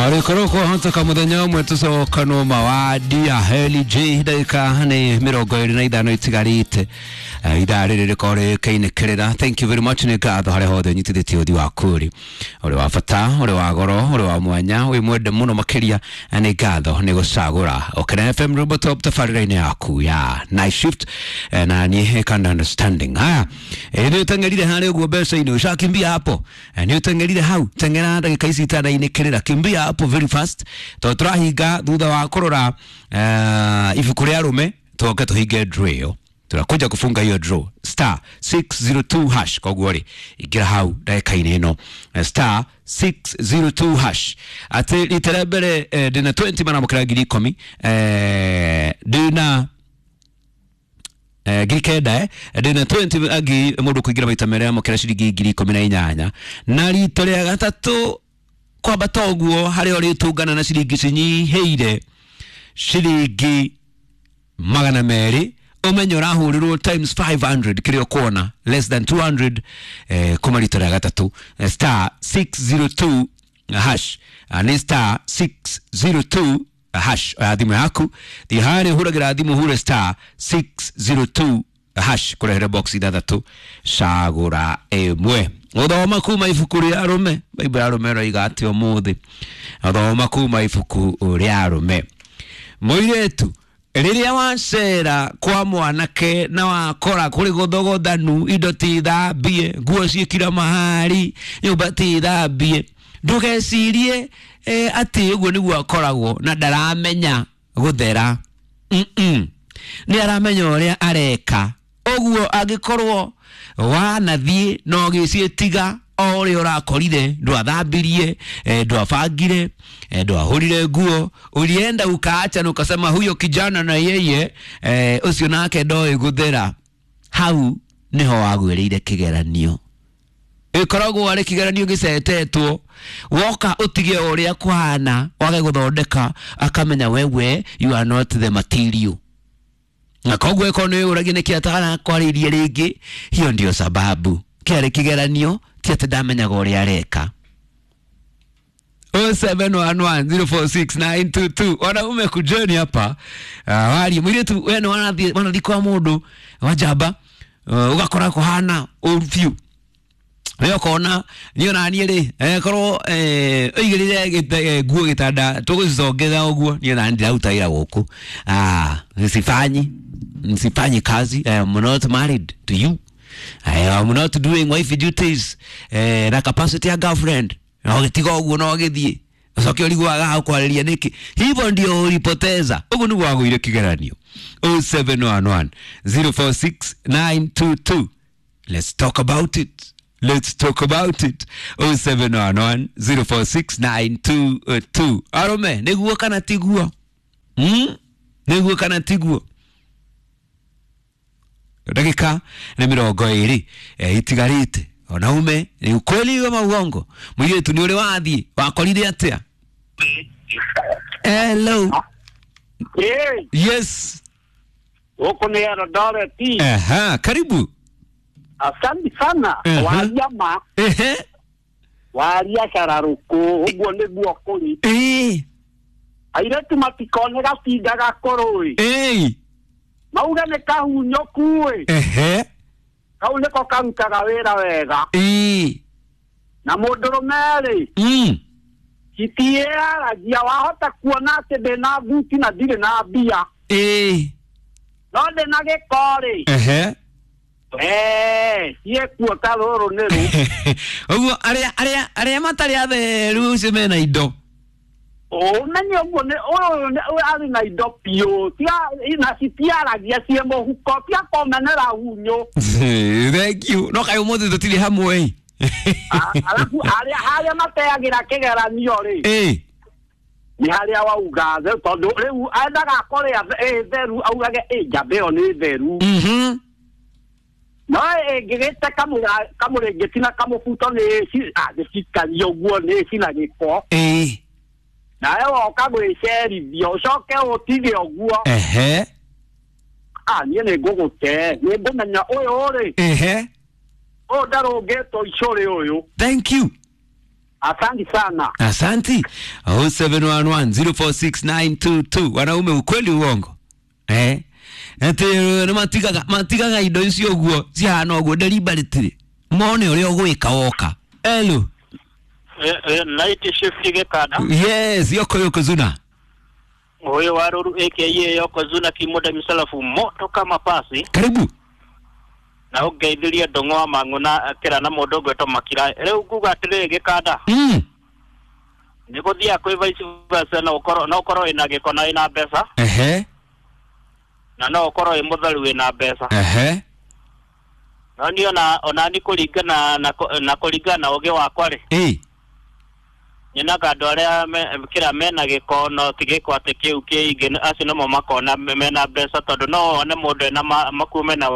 Arĩkorwo kwahoteka mũthenya ũmwe tũcokanwo mawadia Heli J ndagĩka nĩ 25 itigarĩte. Ithaa rĩrĩ rĩkorwo rĩkĩinĩkĩrĩra. Thank you very much, nĩ ngatho harĩa hothe ũnyitithĩtie ũthi waku rĩ ũrĩ wa bata, ũrĩ wa goro, ũrĩ wa mwanya, wĩ mwende mũno makĩria. Nĩ ngatho nĩ gũcagũra Okena FM Robo Top tabarĩra-inĩ yaku ya night shift. Na niĩ kind understanding haya. Nĩ ũteng'erire harĩa ũguo mbeca-inĩ, ushakimbia hapo. Nĩ ũteng'erire hau, teng'era ndagĩka ici itanainĩkĩrĩra, kimbia hapo very fast tondũ tũrahinga thutha wa kũrora ibuku rĩa arũme, tũoke tũhinge draw ĩyo. Tunakuja kufunga hiyo draw star 602 hash. Koguo rĩ, ingĩra hau ndagĩka-inĩ ĩno, star 602 hash. Atĩ rita rĩa mbere, ndĩna 20 maramũkĩra 10,000, ndĩna 9,000, ndĩna 20 angĩ mũndũ kũingĩra maita merĩ amũkĩra ciringi 18,000, na rita rĩa gatatũ kwambata ũguo harĩa ũrĩtũngana na ciringi cinyihĩire ciringi 200, ũmenye ũrahũrĩrwo times 500 kĩrĩa ũkuona less than 200, kuma rita rĩa gatatũ. Star 602 hash. Nĩ star 602 hash. Oya thimũ yaku, thiĩ harĩa ũhũragĩra thimũ, hure star 602 hash, kũrehere box ithathatũ, cagũra ĩmwe. Gũthoma kuma ibuku rĩa arũme, Bible ya arũme ĩroiga atĩ ũmũthĩ thoma kuma ibuku rĩa arũme. Mũirĩtu, rĩrĩa wacera kwa mwanake na wakora kũrĩ gũthogothanu, indo ti thambie, nguo ciĩkira mahari, nyũmba ti thambie, ndũgecirie atĩ ũguo nĩguo akoragwo na ndaramenya gũthera. Nĩ aramenya ũrĩa areka ũguo. Angĩkorwo wanathiĩ na ũgĩciĩtiga o ũrĩa ũrakorire, ndwathambirie, ndwabangire, ndwahũrire nguo, ulienda ukaacha na ukasema huyo kijana na yeye, ũcio nake ndoĩ gũthera, hau nĩho wagwĩrĩire kĩgeranio. Ĩkoragwo arĩ kĩgeranio gĩcetetwo. Woka ũtige ũrĩa kũhana, wage gũthondeka, akamenya wewe you are not the material, na koguo ĩkorwo nĩ ũragia nĩkĩ atarakwarĩirie rĩngĩ, hiyo ndio sababu. Kĩarĩ kĩgeranio, ti atĩ ndamenyaga ũrĩa areka. 0711046922. Wanaume, kujeni hapa. Warie mũirĩtu, we nĩ wanathiĩ kwa mũndũ wa njamba, ũgakora kũhana ũru biũ, we ũkona niĩ ona niĩ rĩ, korwo ũigĩrĩre nguo gĩtanda tũgũcicongeza ũguo, niĩ ona ndiraruta wĩra gũkũ. Sifanyi kazi. I am not married to you, I am not doing wife duties, na capacity ya girlfriend, na ũgĩtiga ũguo na ũgĩthiĩ, ũcoke ũrigwo agaga kwarĩria nĩkĩ. Hivyo ndio ulipoteza, ũguo nĩguo wagũire kĩgeranio. 0711 046 922. Let's talk about it. Let's talk about it. 0711 046 922. Arũme, nĩguo kana tiguo? Nĩguo kana tiguo? Ndagĩka nĩ 20 itigarĩte. Wanaume, ni ukweli ama uongo? Mũirĩtu, nĩ ũrĩ wathiĩ wakorire atĩa? Hello. Yes. Huku nĩ Eldoret. Aha, karibu. Asante sana. Waria ma waria cararũkũ, ũguo nĩguo kũrĩ. Airĩtu matikone gatinda gakũrũ ĩ, mauge nĩ kahunyũku ĩ. Kau nĩko karutaga wĩra wega. Na mũndũrũme rĩ, citiĩyaragia. Wahota kuona atĩ ndĩna thuti na ndirĩ na mbia, no ndĩna gĩko rĩ, ciĩkuo ta rũrũ nĩ rũ. Ũguo arĩa matarĩ atheru ũcio mena indo. Ũmenye ũguo nĩ ũyũ arĩ na indo biũ, na citiaragia ciĩ mũhuko, tia kũmenera hunyũ. Thank you. No kaĩ ũmũthĩ tũtirĩ hamwe. Alafu harĩa mateagĩra kĩgeranio rĩ, nĩ harĩa wauga tondũ rĩu endaga akore ĩ theru, augage ĩ njamba ĩyo nĩ theru. No ĩngĩgĩte kamũrĩngĩti na kamũbuto nĩ nĩcikaria ũguo nĩ cina gĩko. Nawe woka gwĩcerithia ũcoke ũtige ũguo. Niĩ nĩ ngũgũte, nĩ ngũmenya ũyũ rĩ, ũyũ ndarũngĩtwo icũrĩ ũyũ. Thank you. Asante sana. Asanti. 0711046922. Wanaume, ukweli uongo? Eh, ati nĩ matigaga indo icio ũguo cihana ũguo deliberately mone ũrĩa ũgwĩka woka. Hello. Night shift Gikanda. Yes, yoko Yokozuna. Huyo Waruru aka Yokozuna kimoda misalafu moto kama pasi. Karibu. Na ũngeithirie ndũng'wa mang'u na kĩra na mũndũ ũgwĩtwo Makira. Rĩu nguga atĩrĩrĩ Gikanda. Nĩ gũthiaga kwĩ vice versa, no ũkorwo wĩna gĩko na wĩna mbeca. Ehe. Na no ũkorwo wĩ mũtheru wĩna mbeca. Ehe. No niĩ ona ni kũringana na kũringana na ũgĩ wakwa rĩ. Nyonaga andũ arĩa kĩra mena gĩko no ti gĩko atĩ kĩu kĩingĩ, acio nomo makona mena mbeca, tondũ no wone mũndũ ena makuo mena.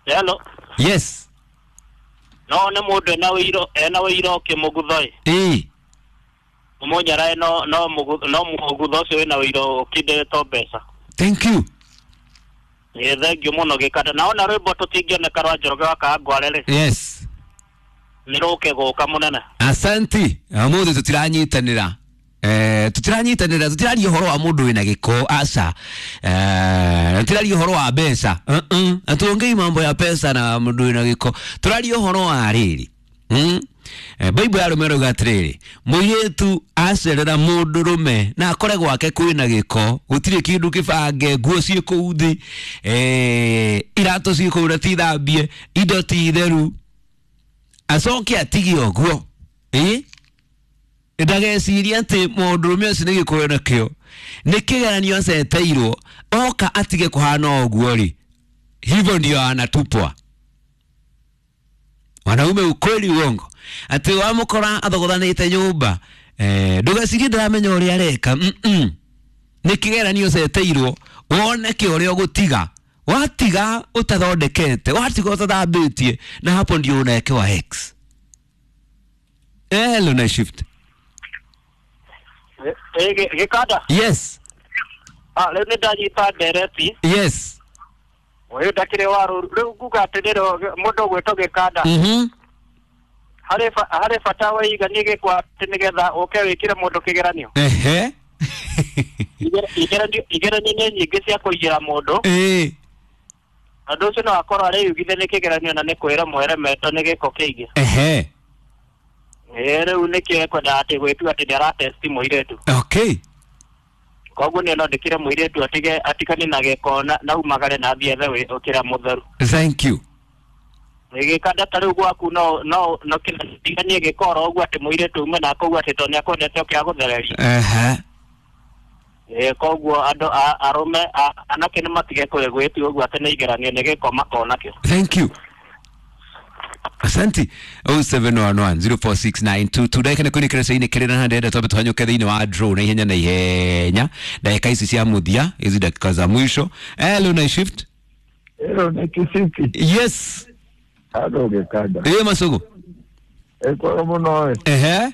Hello. Yes. No wone mũndũ ena wĩiro ũkĩmũgutho ĩ. Mũnyarae no mũgutho ũcio wĩna wĩiro ũkindĩrĩtwo mbeca. Thank you. Ĩ, thank you mũno Gikanda. Na ona rwĩmbo tũtingĩoneka rwa Njoroge wa Kawangware rĩ. Yes. Nĩ rũke gũka mũnene. Asanti. Ũmũthĩ tũtiranyitanĩra. Tũtiranyitanĩra, tũtiraria ũhoro wa mũndũ wĩna gĩko, aca. Tũtiraria ũhoro wa mbeca. Hatuongei mambo ya pesa na mũndũ wĩna gĩko. Tũraria ũhoro wa rĩrĩ. Bible ya arũme ĩrauga atĩrĩrĩ, mũirĩtu acerera mũndũrũme na akore gwake kwĩna gĩko, gũtirĩ kĩndũ kĩbange, nguo ciĩ kũu thĩ, iratũ ciĩ kũu na ti thambie, indo ti theru, acoke atige ũguo. Ndageciria atĩ mũndũrũme ũcio nĩ gĩko nakĩo, nĩ kĩgeranio aceteirwo, oka atige kũhana ũguo rĩ, hivyo ndio anatupwa. Wanaume, ukweli uongo? Ati wamukora athogothanĩte nyũmba, ndũgecirie ndaramenya ũrĩa areka. Nĩ kĩgeranio ceteirwo wone kĩ ũrĩa ũgũtiga, watiga ũtathondekete, watiga ũtathambĩtie, na hapo ndio unaekewa X. Hello, night shift. Gikanda. Yes. Rĩu nĩ ndanyita ndereti. Yes. Ũyũ ndakĩrĩ Waruru. Rĩu nguga atĩrĩrĩ, mũndũ ũgwĩtwo Gikanda. Harĩ bata wĩiganie gĩko atĩ nĩgetha ũke wĩkĩre mũndũ kĩgeranio. Ehe. Igeranio nĩ nyingĩ cia kũigĩra mũndũ. Ũndũ ũcio no akorwo arĩyugithia nĩ kĩgeranio na nĩ kwĩra mweremetwo nĩ gĩko kĩingĩ. Ehe. Rĩu nĩkĩo ekwendaga atĩ gwĩtua atĩ nĩaratesti mũirĩtu. Okay. Koguo niĩ no ndĩkĩre mũirĩtu atige atigane na gĩko na umagare na athiĩ ethe kĩrĩa mũtheru. Thank you. Gĩkanda ta rĩu gwaku no tiganie gĩko oro ũguo atĩ mũirĩtu ume na koguo atĩ tondũ nĩakwendete oke agũthererie. Ehe. Koguo andũ arũme anake nĩmatige gwĩtua ũguo atĩ nĩ igeranio nĩ gĩko makona kĩo. Thank you. Asante. 0711046922. Ndagĩka nĩ kũinĩkĩra cia-inĩ kĩrĩ na ndĩrenda twambe tũhanyũke thĩinĩ wa draw na ihenya na ihenya, ndagĩka ici cia mũthia, hizi dakika za mwisho. Hello, night shift. Hello, night shift. Yes. Hello, Gikanda. Masogo. Kwa mũno. Ehe.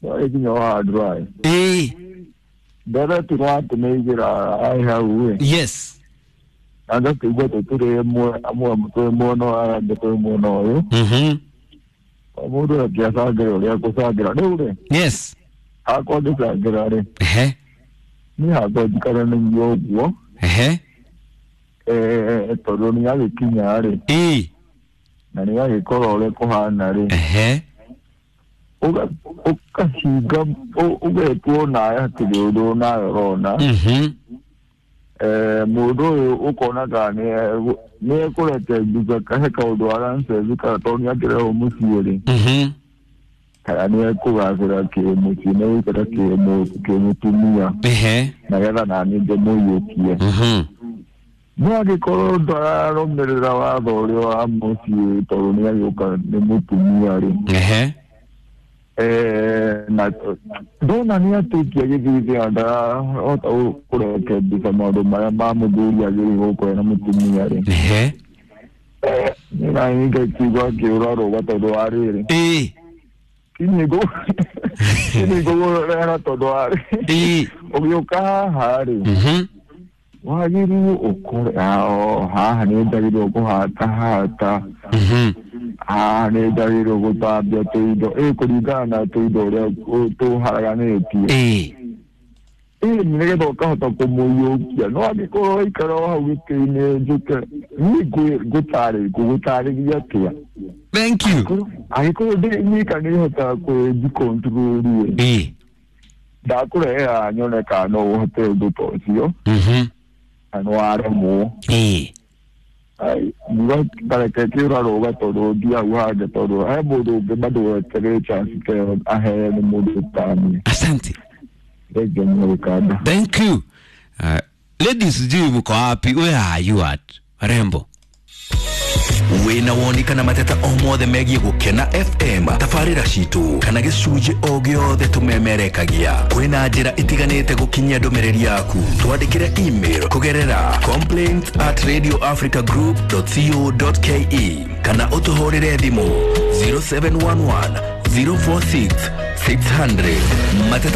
No ikinyo wa draw. Ndara turwa tũnĩigĩra ai hau. Yes. Anga kĩigua tũtũrĩ amwe twĩ mwena wa angĩ twĩ mwena ũyũ. Mũndũ akĩacangĩra ũrĩa akũcangĩra rĩu rĩ. Yes. Hakwa ngĩcangĩra rĩ. Ehe. Niĩ hakwa njikara nĩguo ũguo. Ehe. Tondũ nĩagĩkinya rĩ. Na nĩagĩkorwo ũrĩa kũhana rĩ. Ehe. Ũkahinga ũgetwo nawe hatirĩ ũndũ nawe ũrona. Mũndũ ũyũ ũkona kana nĩ ekũrete mbica kahe kaũndũ arancezi kana tondũ nĩakĩrehwo mũciĩ rĩ. Kana nĩ ekũgacĩra kĩmũciĩ nĩ gũikara kĩmũtumia. Nĩgetha naniĩ ngĩmũiyũkie. No angĩkorwo ndararũmĩrĩra watho ũrĩa wa mũciĩ tondũ nĩagĩũka nĩ mũtumia rĩ. Na ndona nĩ atĩkia gĩthithi ndarahota kũrekebisa maũndũ marĩa ma mũthuri agĩrĩirwo gũkorwo na mũtumia rĩ. Niĩ naniĩ ngakigua ngĩũra rũga tondũ wa rĩrĩ. Kinyi ngũgũrera tondũ wa rĩrĩ. Ũgĩũka haha rĩ. Wagĩrĩirwo ũkore haha nĩ njagĩrĩirwo kũhata hata. Haha nĩ njagĩrĩirwo gũthambia tũindo, ĩ kũringana na tũindo ũrĩa tũharaganĩtie. Ĩ nĩgetha ũkahota kũmũiyũkia, no angĩkorwo waikara o hau gĩtĩ-inĩ njũke niĩ ngũgũtarĩria atĩa? Thank you. Angĩkorwo ndĩ nyika nĩhotaga kwĩnjikontrol ĩ, ndakũrehera nyone kana no ũhote ũndũ ta ũcio, na nĩ waremwo. Ai, nguga kareke kĩũrarũga tondũ ndi hau hangĩ, tondũ he mũndũ ũngĩ bado weterere chance ta ĩyo aheo nĩ mũndũ tani. Asante. Thengiũ mũno Gĩkanda. Thank you. Ladies, sijui mko wapi? Where are you at? Rembo. Wĩna woni kana mateta o mothe megiĩ Gũkena FM, tabarĩra citũ kana gĩcunjĩ o gĩothe tũmemerekagia, kwĩna njĩra itiganĩte gũkinyia ndũmĩrĩri yaku. Twandĩkĩre email kũgerera complaints@radioafricagroup.co.ke kana ũtũhũrĩre thimũ 0711 046 600. Mateta.